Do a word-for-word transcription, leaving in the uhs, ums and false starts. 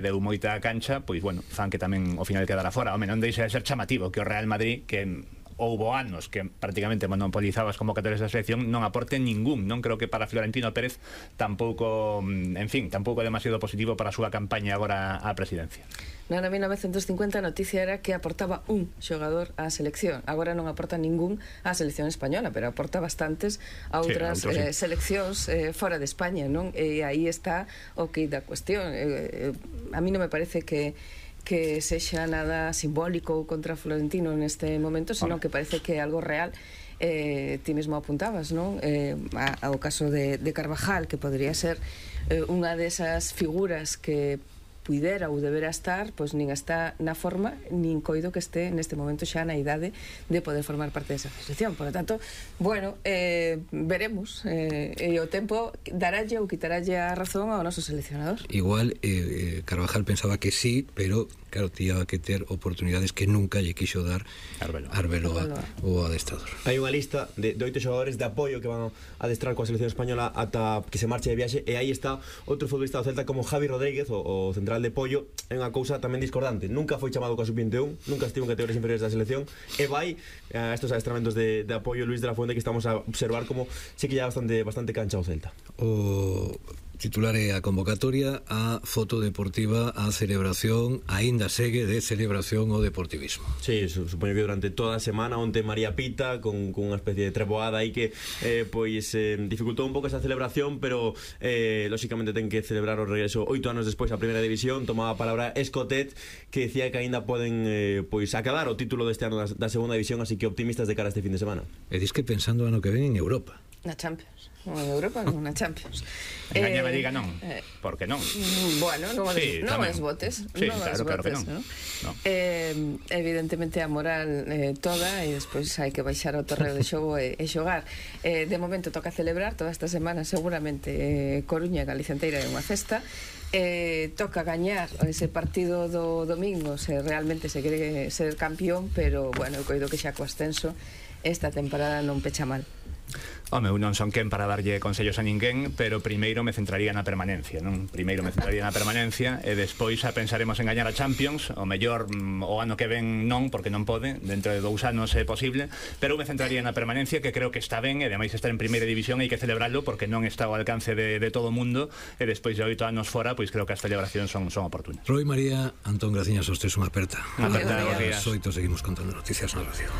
deu moita cancha, pois, bueno, fan que tamén ao final quedara fora. Home, non deixa de ser chamativo que o Real Madrid, que houbo anos que prácticamente monopolizaba as convocatorias da selección, non aporte ningún. Non creo que para Florentino Pérez tampouco, en fin, tampouco demasiado positivo para a súa campaña agora á presidencia. No ano mil novecentos cincuenta a noticia era que aportaba un xogador á selección. Agora non aporta ningún á selección española, pero aporta bastantes a outras sí, a outros, eh, sí. seleccións eh, fora de España, non? E aí está o que da cuestión. Eh, eh, a mí non me parece que que sexa nada simbólico contra Florentino neste momento, senón que parece que é algo real. Eh, ti mesmo apuntabas, non? Eh, ao caso de, de Carvajal, que podría ser eh, unha desas figuras que puidera ou debera estar, pois nin está na forma, nin coido que este neste momento xa na idade de poder formar parte desa selección. Por lo tanto, bueno, eh, veremos, eh, e o tempo daralle ou quitaralle a razón ao noso seleccionador. Igual eh, Carvajal pensaba que sí, pero claro, tía que ter oportunidades que nunca lle quixo dar Arbeloa, Arbeloa o adestrador. Hai unha lista de, de oito xogadores de apoio que van a adestrar coa selección española ata que se marche de viaxe, e aí está outro futbolista do Celta como Javi Rodríguez, o, o central de Pollo. É unha cousa tamén discordante, nunca foi chamado coa sub vinte e un, nunca estivo en categorías inferiores da selección, e vai a estos adestramentos de, de apoio Luis de la Fuente, que estamos a observar como sí que ya bastante, bastante cancha o Celta. O titular é a convocatoria, a foto deportiva, a celebración, aínda segue de celebración o deportivismo. Sí, supoño que durante toda a semana onte María Pita con, con unha especie de treboada aí que eh, pois eh, dificultou un pouco esa celebración, pero eh, lóxicamente ten que celebrar o regreso oito anos despois a primeira división. Tomaba a palabra Escotet, que decía que aínda poden eh, pois acabar o título deste ano da, da segunda división, así que optimistas de cara a este fin de semana. E dis que pensando ano que ven en Europa. Na Champions. Non en Europa, non na Champions. Engaña me diga non, eh, porque non. Bueno, non sí, non es botes. Sí, non claro, claro que non. ¿no? No. Eh, evidentemente a moral eh, toda, e despois hai que baixar ao terreo de xogo e, e xogar. Eh, de momento toca celebrar toda esta semana, seguramente eh, Coruña e Galicia inteira é unha festa. Eh, toca gañar ese partido do domingo se realmente se quere ser campeón, pero bueno, eu coido que xa co ascenso esta temporada non pecha mal. Home, eu non son quen para darlle consellos a ninguén, pero primeiro me centraría na permanencia, non? Primeiro me centraría na permanencia e despois a pensaremos en gañar a Champions. O mellor o ano que ven non, porque non pode, dentro de dous anos é posible, pero eu me centraría na permanencia, que creo que está ben, e ademais estar en primeira división hai que celebrarlo porque non está ao alcance de, de todo o mundo, e despois de oito anos fora, pois creo que as celebracións son, son oportunas. Roy, María, Antón, graciñas aos tres, unha aperta. Unha aperta, a las oito seguimos contando noticias na radio.